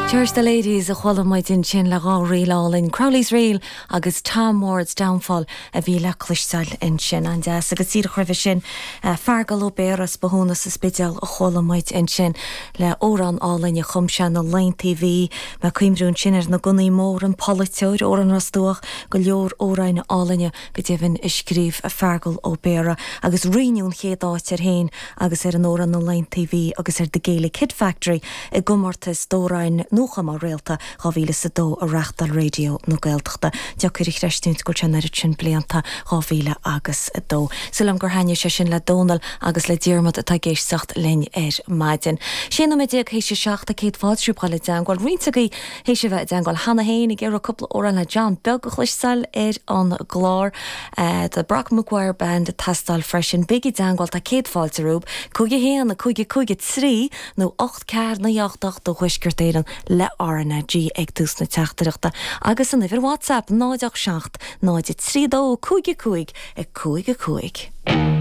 Church the Ladies a chuala muid ansin le dha ríl álainn, Crowley's Reel agus Tom Ward's Downfall a bhí le cloisteáil ansin. An-deas. Agus díreach roimhe sin, Feargal Ó Béarra as Bothúna sa Spidéal a chuala muid ansin le amhrán álainn a chum sé na laethanta a bhí. Mé ag cuimhniú ansin ar na gunnaí móra, an polaiteoir, Amhrán Ros Dumhach, go leor amhráin álainne go deimhin a scríobh Feargal Ó Béarra agus roinneadh an chéad áit air féin agus ar an amhrán Na Laethanta a Bhí agus ar The Gaelic Hit Factory i gcomórtas d'amhráin nuachumtha Réalta 2002 a reáchtáil Raidió na Gaeltachta. Deacair a chreistiúint go bhfuil sé an oiread sin blianta, 2002. Súil agam gur thaitnigh sé sin le Dónal agus le Diarmaid atá ag éisteacht linn ar maidin. 16 nóiméad théis a 7 tá céad fáilte romhaibh dhul i dteangmháil. Roinnt agaibh théis a bheith i dteangmháil cheana féin ag iarraidh cúpla amhrán le John Beag a chloisteáil ar an gclár. The Brock Maguire Band ag teastáil freisin. Bígí i dteangmháil, tá céad fáilte romhaibh. 5 1 5 5 3 nó 8 4 9 8 8 do Thuaisceart Éireann le RnaG ag tús na teachtaireachta agus an uimhir WhatsApp 0 8 7 0 3 2 5 5 5 5.